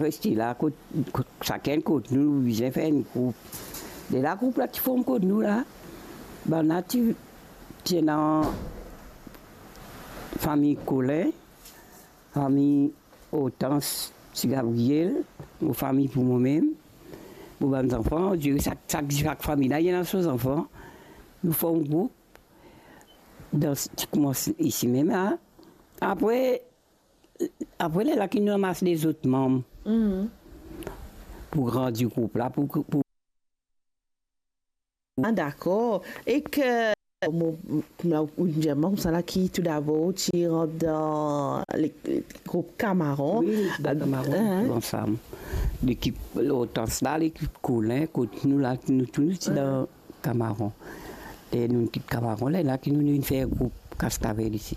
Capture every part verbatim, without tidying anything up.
reste la, kot, kot, sakenn kot nou, bizin fer enn group. Lerla group la ti form kot nou la, bann la ti, ti ena fami Colin, fami Hortense, ti Gabriel, mo fami pou momem, mo bann zanfan, on dirait sak, sak, sak fami la, li ena so zanfan. Nou form group, dan, ti koumans isi mem la. Apre, apre lerla ki nou anmas lezot manm pou grandi group la, pou, pou Ah, dakor. Ek, mo, mo, ou dir mwa koumsa la ki toudabor ou ti rant dan le, group Kamaron. Wi, dan Kamaron, ansam. Lekip Hortense la, lekip Colin, kot nou la, nou tou nou ti dan Kamaron. E nou kit Kamaron, lerla ki nou, nou vinn fer group Kastavel isi.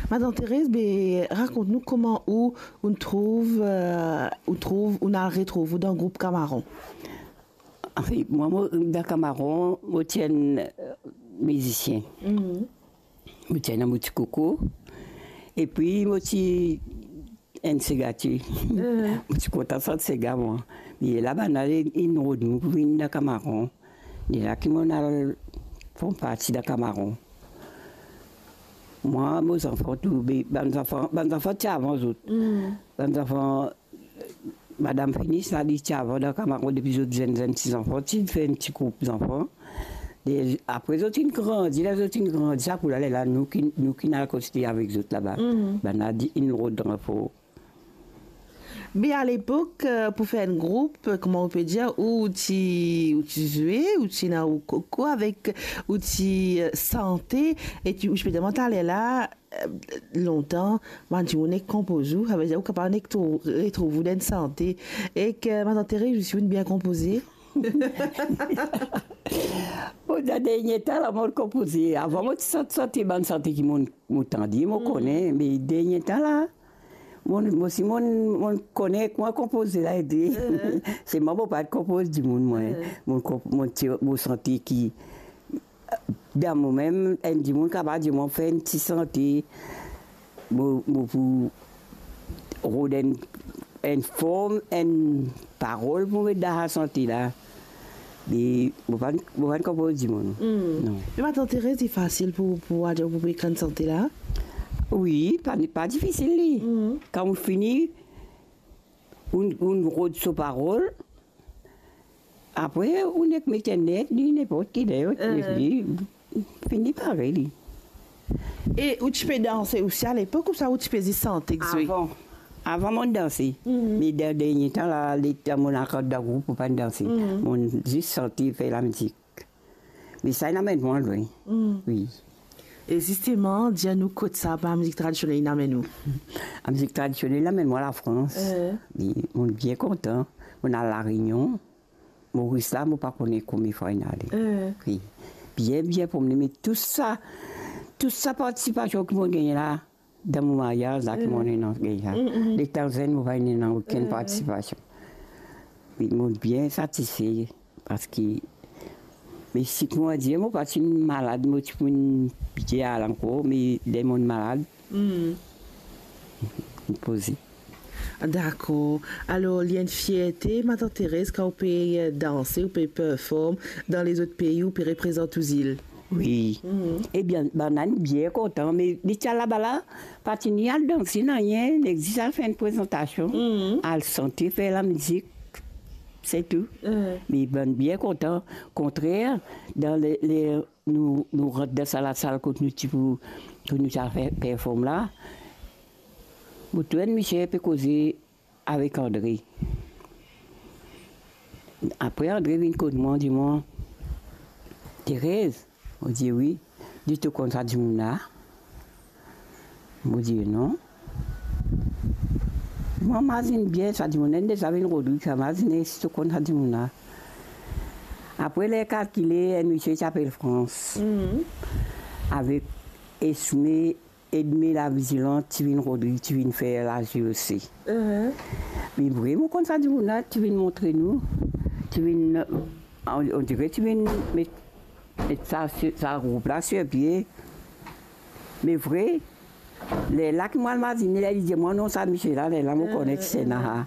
Madanm Terez, be, rakont nou kouma ou, ou trouv, ou trouv, ou al retrouv ou dan group Kamaron. Anfin, mwa, mo, dan Kamaron, mo ti enn, eh, mizisien. Mo ti ena mo ti koko. Epi mo ti enn segatie. Mo ti kontan sant sega, mwa. Me la, bann la inn rod mwa pou vinn dan Kamaron. Lerla ki mo'nn al form parti dan Kamaron. Mwa, mo zanfan tou, be, bann zanfan, bann zanfan ti avan zot. Bann zanfan Madam Finis la, li ti avan dan Kamaron depi zot zenn, zenn ti zanfan, ti fer enn ti group zanfan. E apre zot inn grandi, ler zot inn grandi, sa kou la, lerla nou ki, nou ki'nn al kontign avek zot laba. Bann la inn rod ranfor. Me alepok, eh, pou fer enn group, eh, kouma ou pe dir, ou ti, ou ti zwe, ou ti ena ou koko avek, ou ti, eh, sante, e ti, ou ti pe dir mwa taler la, eh, lontan, bann dimoun nek konpoz ou, savedir ou kapav nek trou-, retrouv ou dan enn sante. Ek, eh, Madanm Terez, ou ti bien konpoze? Bon, dan dernie tan la, mo'nn konpoze. Avan, mo ti sant, sante bann sante ki mo'nn, mo tande, mo kone, me dernie tan la, mo'nn, mo si mo'nn, mo'nn kone kouma konpoze la ete. Se mwa, mo pa konpoz dimoun, mwa. Mo'nn konp-, mo'nn ti, mo sante ki dan momem, enn dimoun kapav dir mwa fer enn ti sante, mo, mo pou rod enn, enn form, enn parol pou met dan sa sante la. Me mo pa, mo pa konpoz dimoun. Non. Me Madanm Terez, li fasil pou, pou al dir pou ekrir enn sante la? Wi, pa, pa difisil li. Kan ou fini, ou, ou rod so parol, apre, ou nek met enn net, li ninport ki ler, li fini parey li. E ou ti pe danse osi alepok, ouswa ou ti pe zis sante ek zwe? Avan. Avan mo'nn danse. Me dan dernie tan la, letan mo'nn al rant dan group, mo pa'nn danse. Mo'nn zis sante, fer lamizik. Me sa inn amenn mwa lwin. Wi. E zisteman, dir nou kot sa, lamizik tradisionel inn amenn ou? Lamizik tradisionel inn amenn mwa Lafrans. Wi, mo'nn bien kontan. Mo'nn al La Reynion. Moris la, mo pa kone konbien fwa inn ale. Wi. Bien, bien promene, me tou sa, tou sa partisipasion ki mo'nn gagne la, dan mo maryaz la ki mo'nn ena gagne la. Letan zenn, mo pa ena okenn partisipasion. Me mo'nn bien satisfe, parski, me si kouma dir, mo pa ti malad, mo ti pou bien al ankor, me ler mo'nn malad, mo'nn poze. Dakor. Alor, li enn fierte, Madanm Terez, kan ou pe danse, ou pe perform dan lezot pei, ou pe reprezant ou zil? Wi. Ebien, bann la inn bien kontan, me li ti al laba la, pa ti ni al danse nanye, nek zis al fer enn prezantasion, al sante, fer lamizik, se tou. Me bann bien kontan. Kontrer, dan le, le, nou, nou rant dan sa lasal kot nou ti pou, kot nou ti al fer perform la, mo trouv enn misie pe koze avek Andre. Apre Andre vinn kot mwa, dir mwa, "Terez," mo dir, "Wi." "Dir to konn sa dimoun la?" Mo dir, "Non." "Mwa mazinn bien sa dimoun la, inn deza vinn rod li, sa mazinn si to konn sa dimoun la." Apre ler kalkile, enn misie ti apel Frans. Avek Esme Edme Lavizilan ti vinn rod li, ti vinn fer la J O C. Me vre, mo konn sa dimoun la, ti vinn montre nou, ti vinn, on, on dire ti vinn met, met sa, sa group la sir pie. Me vre, lerla ki mo al mazinn li, ler li dir mwa non sa misie la, lerla mo kone ki se Nahar.